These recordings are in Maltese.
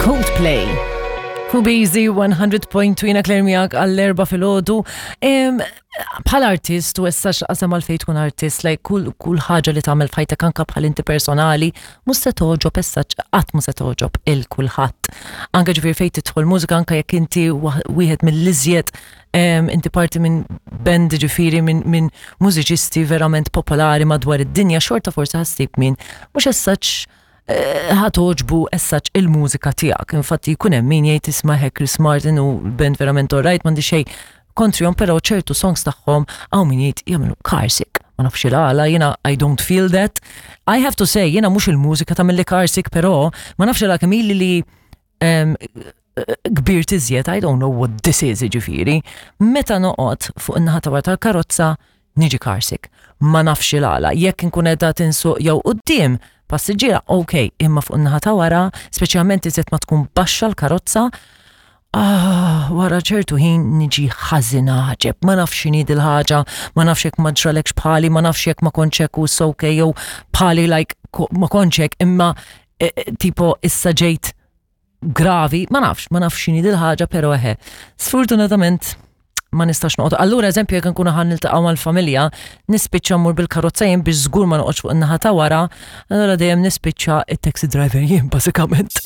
Coldplay. Fu Busy 100.2 jina Claire miegħek għall-erba filgħodu. Bħal artist u issa x'qasam għalfejn tkun artist, like kull kull ħaġa li tagħmel f'ħajtek anke bħal inti personali, mhux se togħġob issa qatt mhux se togħġob il kulħadd. Anke ġifieri fejn tidħol mużika anke jekk inti wieħed mill-iżjed inti parti minn band ġifieri minn min mużiċisti verament popolari madwar id-dinja, xorta forsi ħassib min mhux as such eh, ħa togħġbu as such il-mużika tiegħek. Infatti jkun hemm min jgħid isma' hekk Chris Martin u band verament alright m'għandi xejn kontrihom, però ċertu songs tagħhom hawn min jgħid jagħmlu carsick. Ma nafx il-għala, jiena I don't feel that. I have to say, jiena mhux il-mużika tagħmilli carsick, però ma nafx il kemm ili li kbir tiżjed, I don't know what this is ġifieri. Meta noqgħod fuq in-naħa ta' wara tal-karozza, niġi carsick. Ma nafx il-għala. Jekk inkun qiegħda tinsuq jew quddiem passiġġiera, ok, imma fuq in-naħa ta' wara, speċjalment iżjed ma tkun baxxa l-karozza, ah, wara ċertu ħin niġi ħażin għaġeb. Ma nafx x'inhi dil-ħaġa, ma nafx jekk ma ġralekx bħali, ma nafx jekk ma kontx hekk u it's okay jew bħali like ma kontx hekk, imma eh, eh, tipo issa ġejt gravi, ma nafx, ma nafx x'inhi dil-ħaġa, però eħe. Sfortunatament ma nistax noqgħod. Allura eżempju jekk nkunu ħa niltaqgħu mal-familja, nispiċċa mmur bil-karozza jien biex żgur ma noqgħodx fuq in-naħa ta' wara, allura dejjem nispiċċa it-taxi driver jien bażikament.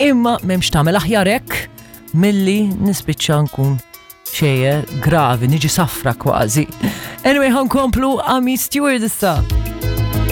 Imma m'hemmx tagħmel aħjar hekk milli nispiċċa nkun xejjer gravi, niġi safra kważi. Anyway, ħankomplu Amii Stewart issa.